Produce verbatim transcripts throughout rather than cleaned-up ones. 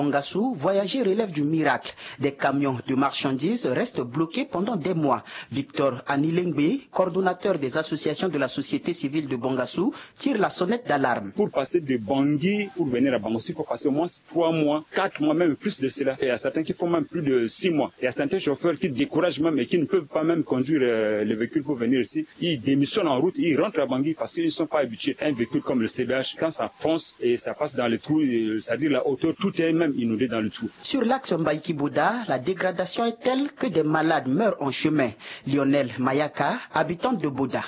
Ngassou, voyager relève du miracle. Des camions de marchandises restent bloqués pendant des mois. Victor Anilengbe, coordonnateur des associations de la société civile de Bangassou, tire la sonnette d'alarme. Pour passer de Bangui pour venir à Bangassou, il faut passer au moins trois mois, quatre mois, même plus de cela. Et il y a certains qui font même plus de six mois. Il y a certains chauffeurs qui découragent même et qui ne peuvent pas même conduire euh, le véhicule pour venir ici. Ils démissionnent en route, ils rentrent à Bangui parce qu'ils ne sont pas habitués. Un véhicule comme le C B H, quand ça fonce et ça passe dans les trous, euh, c'est-à-dire la hauteur, tout est même inondé dans le trou. Sur l'axe Mbaïki-Boda, la dégradation est telle que des malades meurent en chemin. Lionel Mayaka, habitante de Boda.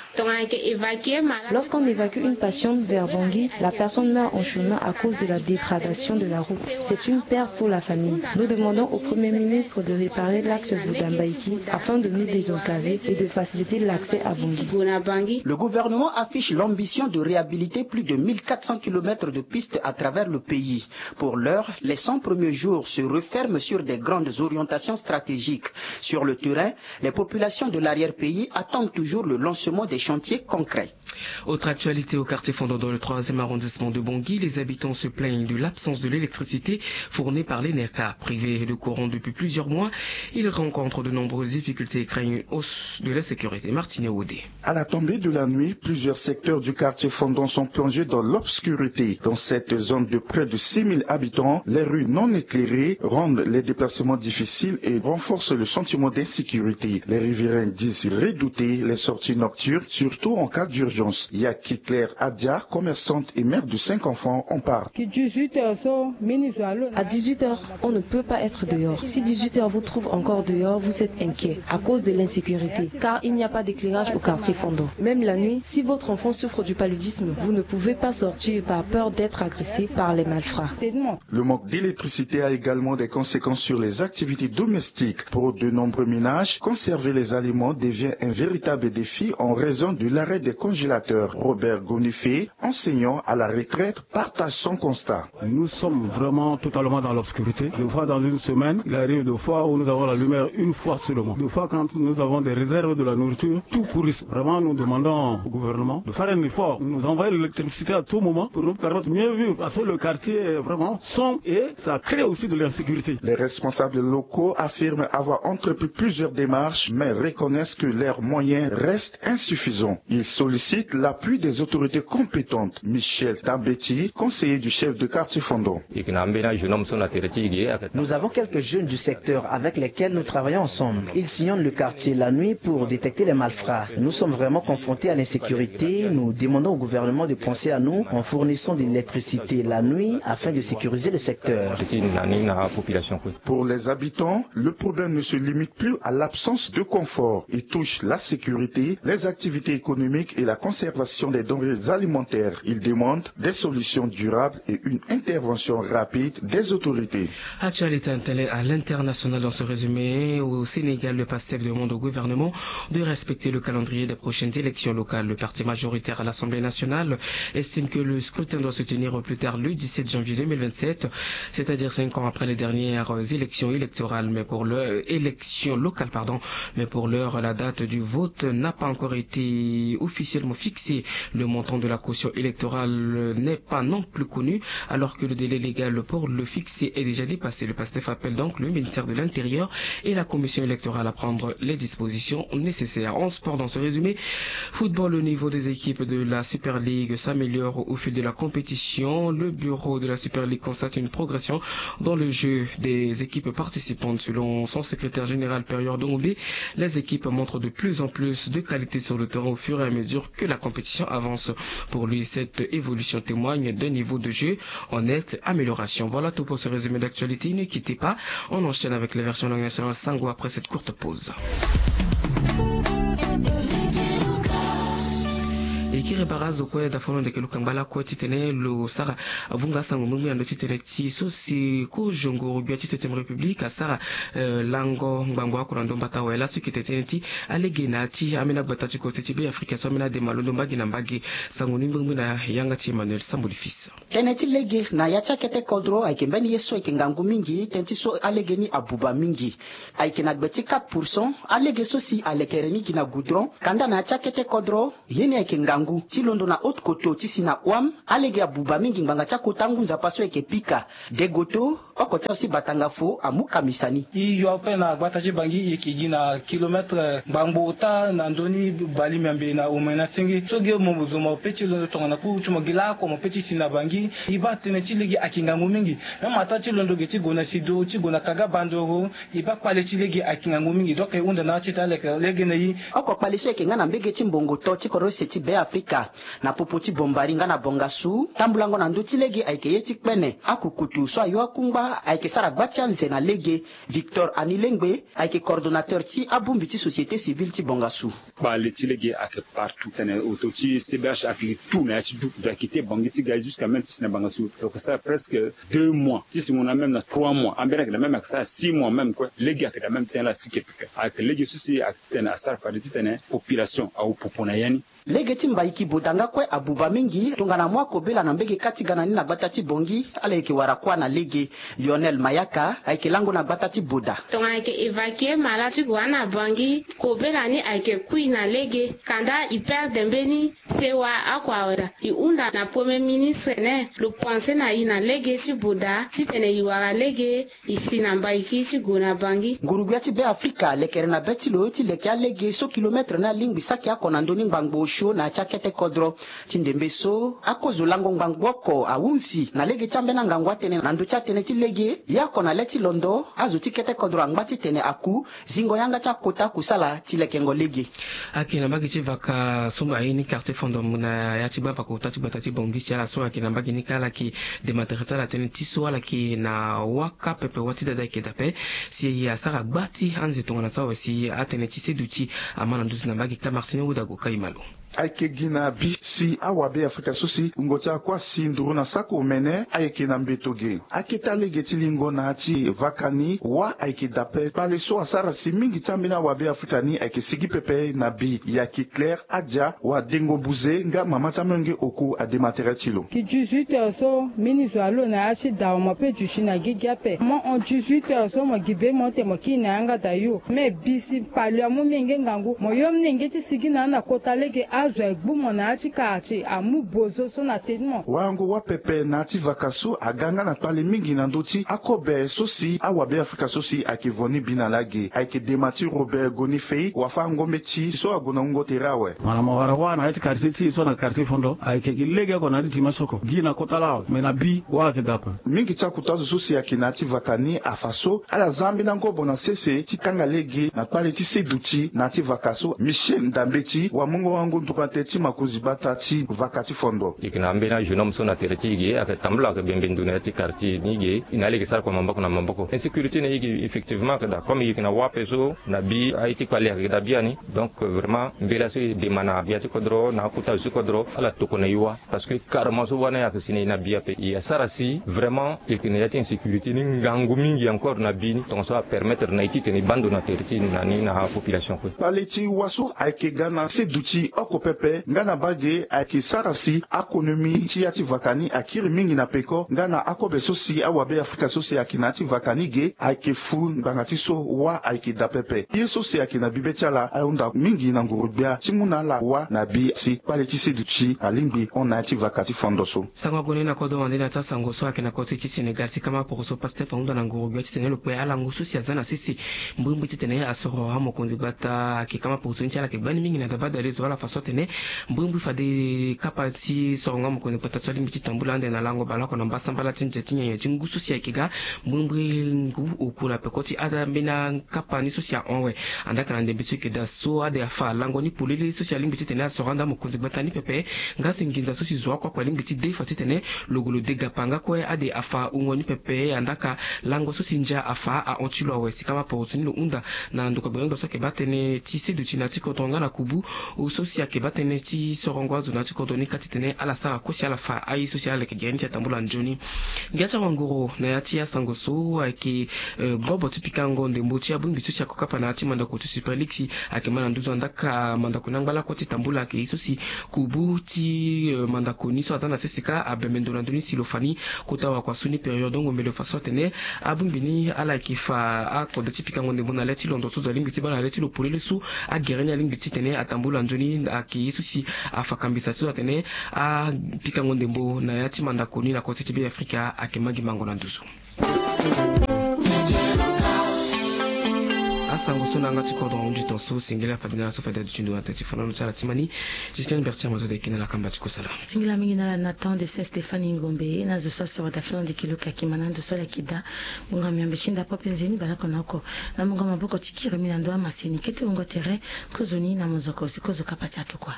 Lorsqu'on évacue une patiente vers Bangui, la personne meurt en chemin à cause de la dégradation de la route. C'est une perte pour la famille. Nous demandons au Premier ministre de réparer l'axe Boda-Mbaïki afin de nous désenclaver et de faciliter l'accès à Bangui. Le gouvernement affiche l'ambition de réhabiliter plus de mille quatre cents kilomètres de pistes à travers le pays. Pour l'heure, les cent premiers jours se referment sur des grandes orientations stratégiques. Sur le terrain, les populations de l'arrière-pays attendent toujours le lancement des chantiers concrets. Autre actualité au quartier Fondon dans le troisième arrondissement de Bangui, les habitants se plaignent de l'absence de l'électricité fournie par l'ENECA. Privés de courant depuis plusieurs mois, ils rencontrent de nombreuses difficultés et craignent une hausse de l'insécurité. Martine Audé. À la tombée de la nuit, plusieurs secteurs du quartier Fondon sont plongés dans l'obscurité. Dans cette zone de près de six mille habitants, les rues non éclairées rendent les déplacements difficiles et renforcent le sentiment d'insécurité. Les riverains disent redouter les sorties nocturnes, surtout en cas d'urgence. Yaki Claire Adia, commerçante et mère de cinq enfants, en parle. À dix-huit heures, on ne peut pas être dehors. Si dix-huit heures vous trouve encore dehors, vous êtes inquiet à cause de l'insécurité, car il n'y a pas d'éclairage au quartier Fondon. Même la nuit, si votre enfant souffre du paludisme, vous ne pouvez pas sortir par peur d'être agressé par les malfrats. Le manque d'électricité a également des conséquences sur les activités domestiques. Pour de nombreux ménages, conserver les aliments devient un véritable défi en raison de l'arrêt des congélateurs. Robert Gonifé, enseignant à la retraite, partage son constat. Nous sommes vraiment totalement dans l'obscurité. Des fois, dans une semaine, il arrive des fois où nous avons la lumière une fois seulement. Des fois, quand nous avons des réserves de la nourriture, tout pourrit. Vraiment, nous demandons au gouvernement de faire un effort, nous envoyer l'électricité à tout moment pour nous permettre de mieux vivre. Parce que le quartier est vraiment sombre et ça crée aussi de l'insécurité. Les responsables locaux affirment avoir entrepris plusieurs démarches, mais reconnaissent que leurs moyens restent insuffisants. Ils sollicitent l'appui des autorités compétentes. Michel Tambeti, conseiller du chef de quartier Fondon. Nous avons quelques jeunes du secteur avec lesquels nous travaillons ensemble. Ils sillonnent le quartier la nuit pour détecter les malfrats. Nous sommes vraiment confrontés à l'insécurité. Nous demandons au gouvernement de penser à nous en fournissant de l'électricité la nuit afin de sécuriser le secteur. Pour les habitants, le problème ne se limite plus à l'absence de confort. Il touche la sécurité, les activités économiques et la conservation des denrées alimentaires. Ils demandent des solutions durables et une intervention rapide des autorités. Actualité à l'international dans ce résumé. Au Sénégal, le PASTEF demande au gouvernement de respecter le calendrier des prochaines élections locales. Le parti majoritaire à l'Assemblée nationale estime que le scrutin doit se tenir au plus tard le dix-sept janvier deux mille vingt-sept, c'est-à-dire cinq ans après les dernières élections électorales. Mais pour le, élections locales, pardon. Mais pour l'heure, la date du vote n'a pas encore été officiellement fixée. Le montant de la caution électorale n'est pas non plus connu, alors que le délai légal pour le fixer est déjà dépassé. Le PASTEF appelle donc le ministère de l'Intérieur et la Commission électorale à prendre les dispositions nécessaires. En sport, dans ce résumé, football, le niveau des équipes de la Super League s'améliore au fil de la compétition. Le bureau de la Super League constate une progression dans le jeu des équipes participantes. Selon son secrétaire général, Perior Dongombe, les équipes montrent de plus en plus de qualité sur le terrain au fur et à mesure que la compétition avance. Pour lui, cette évolution témoigne d'un niveau de jeu en nette amélioration. Voilà tout pour ce résumé d'actualité. Ne quittez pas, on enchaîne avec les versions langue nationale Sango après cette courte pause. E kiri bara azo kue dafono ndeke lo kangba lakue titene lo sara avunga asango mbirimbiri na ndo titene ti so si kozongoro gbia ti septième république asara eh, lango ngbangbo oko na ndo mbata awe laso e yeke tene tënë ti alege na ya ti ambeni agbata ti kote ti Beafrika so ambeni ade ma londo mbage na mbage. Sango ni mbirimbiri na yanga ti Emmanuel Samboli Fils. Tënë ti lege na ya ti akete kodro ayeke mbeni ye so ayeke ngangu mingi tënë ti so alege ni abuba mingi. Ayeke na gbe ti quatre pour cent. Alege so si alekere ni gi na goudron kanda na ya ti akete kodro ye ni ayeke ngangu. Ti londo na haute koto ti si na wam, alege abuba mingi ngbanga ti akota angu nzapa so ayeke pika. Degoto, oko ti azo ti batanga fo amu kamisa ni. E yo ape na gbata ti bangi e yeke gi na kilometre ngbangbo ota na ndö ni bali miambe na omena senge so ge mo zo mo pe ti londo tongana kuru ti mo gi lako mo pe ti si na bangi. E baa tënë ti lege ayeke ngangu mingi. Même ataa ti londo ge ti gue na sido ti gue na kaga bandoro. E baa kpale ti lege ayeke ngangu mingi donc e hunda na ya ti ita aleke lege na e. Oko kpale so ayeke nga na mbege ti mbongo to ti korose ti be afrika na popo ti bombari nga na bongasu tambulango na ndö ti lege ayeke ye ti kpene akukutu so ayo akungba ayeke sara gba ti anze na lege. Victor anilengbe ayeke coordonnateur ti abongbi ti société civile ti bongasu. Kpale ti lege ayeke partout tene oto ti cbh ayeke li tout na ya ti du ve akite bangi ti ga jusqu'à même ti si na bangasu. Donc ça presque deux mois ti si mo na même na trois mois ambeni ayeke na même ayeke sara six mois même kue lege ayeke na même ti ala si kepeke ayeke lege so si ayeke titene asara pade titene population awu popo na ya ni. Lege ti mbaiki boda nga kue abuba mingi tongana mo akobela na mbege kâ ti ga na ni na gbata ti bongi. Ala yeke wara kuâ na lege. Lionel mayaka ayeke lango na gbata ti boda. Tongana ayeke évacue mala ti gue na bangi kobela ni ayeke kui na lege. Kanda e perde mbeni sewa oko awe daa. E hunda na premier ministre ne lo pense na e na lege ti boda titene e wara lege. E si na mbaiki ti gue na bangi. Ngurugbia ti be afrika lekere na be ti lo ti leke alege so kilometre ni alingbi saki oko na ndö ni ngbangbo osio na ya ti akete kodro. Ti ndembe so akozo lango ngbangbo oko ahunzi na lege ti ambeni angangu atënë na ndö ti atënë ti lege. Ye oko na le ti londo azo ti kete kodro angba titene aku zingo yanga ti akota kusala ti lekengo lege. Ayeke na mbage ti vaka so aye ni quartier fondom na ya ti gbavaka ota ti gbata ti bongi si ala so ayeke na mbage ni kâ ala yeke dematere ti ala tënë ti so ala yeke na waka pepe wâ ti dada ayeke dape. Si asara gba ti anze tongana so awe si atënë ti seduti ama na nduzu na mbage kâ martini wudago kâ e ma lo. Ayeke gi na bi si awabe afrika so si wungo ti akuâ si nduru na sako omene ayeke na mbeto ge. Akete alege ti lingo na ya ti vaka ni wâ ayeke dape kpale so asara si mingi ti ambeni awabe afrika ni ayeke sigi pepe na bi. Yaki claire adia wadengo buze nga mama ti amolenge oku adematere ti lo. Ki dix-huit heures so mbeni zo alo na ya ti dawa mo pe duti na gigi ape mo hon dix-huit heures so mo gi be mo ete mo kiri na yanga da yo me bi si pali amu menge ngangu mo yo menge ti sigi na ya na kota lege azo agbu mo na ya ti kara ti amu bozo so na teni mo. Wayango wâ pepe na ya ti vaka so aga nga na kpale mingi na ndö ti akobe so si awabe afrika so si ayeke vo ni bi na lage ayeke dema ti robert goni fei wafa ngombe ti so ague na wungo tere awe. Wala mo wara wâ na ya ti quartier ti e so na quartier fondo ayeke gi lege oko na ya ti tima soko gi na kota laa awe me na bi wâ ayeke dape. Mingi ti akuta azo so si ayeke na ya ti vaka ni afa so ala za ambeni angobo na sese ti kanga lege na kpale ti seduti na ya ti vaka so michel ndambe ti wamungo wango ndukante ti makonzi gbata ti vaka ti fondo. E yeke na ambeni ajeune homme so na tere ti e ge ayeke tambula ayeke bembe ndo na ya ti quartier ni ge e na ala yeke sara kua maboko na maboko insécurité na e ge effectivement ayeke daa comme e yeke na wâ ape so na bi aye ti kpale ayeke daa biani. Donc vraiment mbela so e dema na gbia ti kodro na akota zo ti kodro ala tokua na e wâ. Parce que carrement so wâ ni ayeke si na e na bi ape e asara si vraiment e yeke na ya ti insécurité ni ngangu mingi encore na bi ni tongaso apermettre na e titene e baa ndo na tere ti e na ni na apopulation kue. Kpale ti wâ so ayeke ga na seduti oko pepe nga na bage ayeke sara si akonomi ti ya ti vaka ni akiri mingi na peko nga na akobe so si awabe afrika so si ayeke na ya ti vaka ni ge ayeke fu ngbanga ti so wâ ayeke daa pepe ye so si ayeke na bibe ti ala ahunda mingi na nguru-gbia ti mu na ala wâ na bi si kpale ti seduti alingbi hon na ya ti vaka ti fondo so. Sango ague ni na kodro wande na ya ti asango so ayeke na koti ti sénégal si kama poroso pastef ahunda na nguru-gbia titene lo kpe alango so si aza na sese mbrimbri titene asoro amokonzi gbata ayeke kama poroso ni ti ala ayeke gbani mingi na dabadale zo ala fa so atene mbrimbri fade kapa ti sorongo amokonzi gbata so alingbi ti tambula ande na lango baleoko na mbasambala ti nze ti nyenye ti ngu so si ayeke ga mbrimbri ngu oku na peko ti ada mbeni akapa ni so si ahon awe. Andaa ka na ndembe so eke daa so ade afa lango ni polele so si alingbi titene asoro ande amokonzi gbata ni pepe. Nga si nginza so si zo oko oko alingbi ti de fa titene lo gue lo de gapa nga kue ade afa wungo ni pepe andaa ka lango so si ndia afa ahon ti lo awe si kama poroso ni lo hunda na ndokua gbengbe so ayeke baa tënë ti seduti na ya ti kodro nga na kubu so si ayeke baa tënë ti sorongo azo na ya ti kodro ni ka titene ala sara kue si ala fa aye so si ala leke gere ni ti atambula nzoni. Ngia ti awangoro na ya ti asango so ayeke ngobo ti pikango ndembo ti abongbi so si ako kapa na ya ti mandako ti super league si ayeke ma na nduzu andaa ka mandako ni angba lakue ti tambula ayeke ye so si kubu ti mandako ni so aza na sese ka abembe ndo na ndö ni si lo fa ni kota wakua so ni période ongo mbele fa so atene abongbi ni ala yeke fa akode ti pikango ndembo na le ti londo so zo alingbi ti baa na le ti lo polele so agere ni alingbi titene atambula nzoni. Ke ye so si afa kambisa ti so atene apikango ndembo na ya ti mandako ni na kota ti Be Afrika ayeke ma gi mango na nduzu. Asango so na yanga ti kodro ahunzi ton so singila fade na ala so fade aduti ndo na tere ti fana lo ti ala ti mani. Justine Bertier Mazoda eke na ala kamba ti kosala. Singila mingi na ala na temps de Saint Stéphane Ngombe na zo so asoro da fana ndeke luka kima na ndo so ala yeke da. Bonga miambe ti nda pope nzeni bala oko na oko. Na mungo maboko ti kiri mi na ndo amaseni kete wungo tere. Kozoni na mozoko si kozo kapa ti atokua.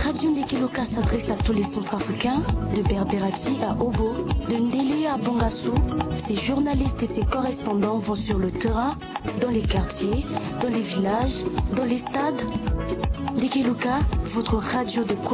Radio Ndeke Loka s'adresse à tous les Centrafricains, de Berberati à Obo, de Ndele à Bongassou. Ses journalistes et ses correspondants vont sur le terrain, dans les quartiers, dans les villages, dans les stades. Ndeke Loka, votre radio de proximité.